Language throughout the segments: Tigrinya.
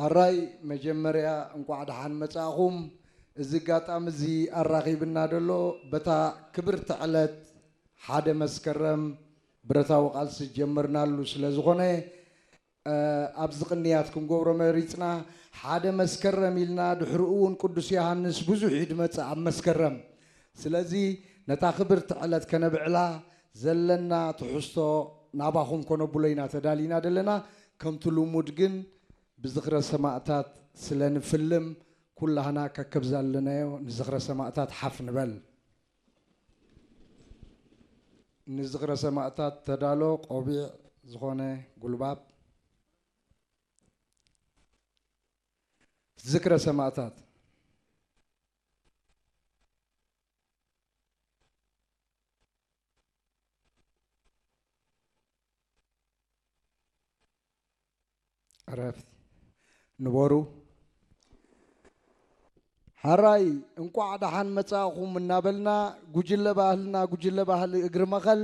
ሕራይ መጀመርያ እንቋዕ ደሓን መጻእኹም። እዚ ኣጋጣሚ እዚ ኣራኺብና ደሎ በታ ክብርቲ ዕለት ሓደ መስከረም ብረታዊ ቃልሲ ጀመርናሉ ስለ ዝኾነ ኣብዚ ቅንያት ክንገብሮ መሪጽና። ሓደ መስከረም ኢልና ድሕሪኡ እውን ቅዱስ ዮሃንስ ብዙሕ እዩ ድመጽእ ኣብ መስከረም። ስለዚ ነታ ክብርቲ ዕለት ከነብዕላ ዘለና ትሕዝቶ ናባኹም ከነብሎ ኢና ተዳሊና ዘለና። ከምቲ ልሙድ ግን ብዝኽረ ሰማእታት ስለ ንፍልም ኩላህና ከከብ ዘለናዮ ንዝኽረ ሰማእታት ሓፍ ንበል። ንዝኽረ ሰማእታት ተዳሎ ቆቢዕ ዝኾነ ጉልባብ። ዝክረ ሰማእታት። ዕረፍቲ። ንበሩ። ሕራይ እንቋዕ ደሓን መጻእኹም እናበልና፣ ጉጅለ ባህልና፣ ጉጅለ ባህሊ እግሪ መኸል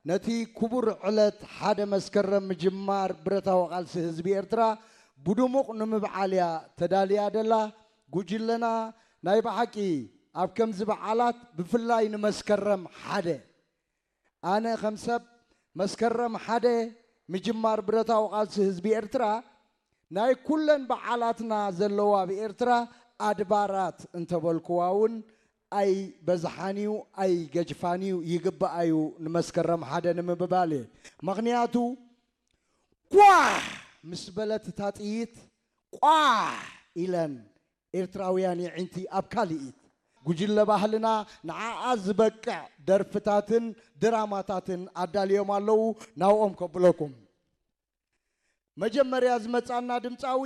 ነቲ ክቡር ዕለት ሓደ መስከረም ምጅማር ብረታዊ ቃልሲ ህዝቢ ኤርትራ ብድሙቕ ንምብዓል እያ ተዳልያ ደላ። ጉጅለና ናይ ብሓቂ ኣብ ከምዚ በዓላት፣ ብፍላይ ንመስከረም ሓደ፣ ኣነ ከም ሰብ መስከረም ሓደ ምጅማር ብረታዊ ቃልሲ ህዝቢ ኤርትራ ናይ ኩለን በዓላትና ዘለዋ ኣብ ኤርትራ ኣድባራት እንተበልኩዋ እውን ኣይበዝሓን እዩ፣ ኣይገጅፋን እዩ፣ ይግባእ እዩ ንመስከረም ሓደ ንምብባል እየ። ምኽንያቱ ኳሕ ምስ በለት እታ ጥይት ቋሕ ኢለን ኤርትራውያን የዒንቲ ኣብ ካልኢት ጉጅለ ባህልና ንዓኣ ዝበቅዕ ደርፍታትን ድራማታትን ኣዳልዮም ኣለዉ። ናብኦም ከብለኩም። መጀመርያ ዝመጻና ድምጻዊ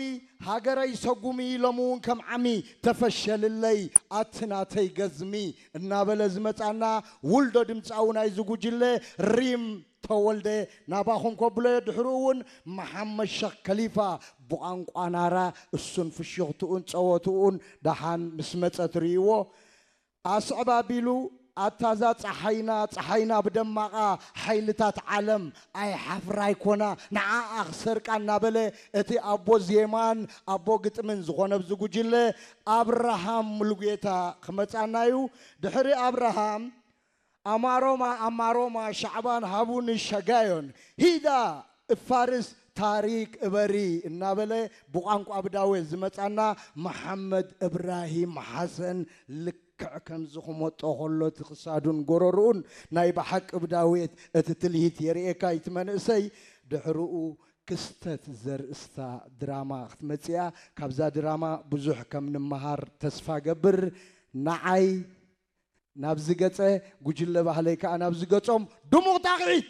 ሃገረይ ሰጉሚ ሎሚ እውን ከም ዓሚ ተፈሸልለይ ኣቲ ናተይ ገዝሚ እናበለ ዝመጻና ውልዶ ድምጻዊ ናይዚ ጉጅለ ሪም ተወልደ ናባኹም ከብሎ እየ። ድሕሩ እውን መሓመድ ሸኽ ከሊፋ ብቋንቋ ናራ እሱን ፍሽኽትኡን ጸወትኡን ደሓን ምስ መጸ ትርእይዎ። ኣስዕብ ኣቢሉ ኣታዛ ጸሓይና ጸሓይና ብደማቓ ሓይልታት ዓለም ኣይሓፍራ ኣይኮና ንዓኣ ክሰርቃ እናበለ እቲ ኣቦ ዜማን ኣቦ ግጥምን ዝኾነ ኣብዚ ጉጅለ ኣብርሃም ሙሉጌታ ክመጻና እዩ። ድሕሪ ኣብርሃም ኣማሮማ ኣማሮማ ሻዕባን ሃቡኒ ሸጋዮን ሂዳ እፋርስ ታሪክ እበሪ እናበለ ብቋንቋ ብዳዌት ዝመጻና መሓመድ እብራሂም ሓሰን ልክዕ ከምዚ ክመጦ ከሎ እቲ ክሳዱን ጎረርኡን ናይ ብሓቂ ብዳዌት እቲ ትልሂት የርእየካ እቲ መንእሰይ። ድሕርኡ ክስተት ዘርእስታ ድራማ ክትመጽእ እያ። ካብዛ ድራማ ብዙሕ ከም ንምሃር ተስፋ ገብር። ንዓይ ናብዚ ገጸ፣ ጉጅለ ባህለይ ከኣ ናብዚ ገጾም ድሙቕ ጣቕዒት።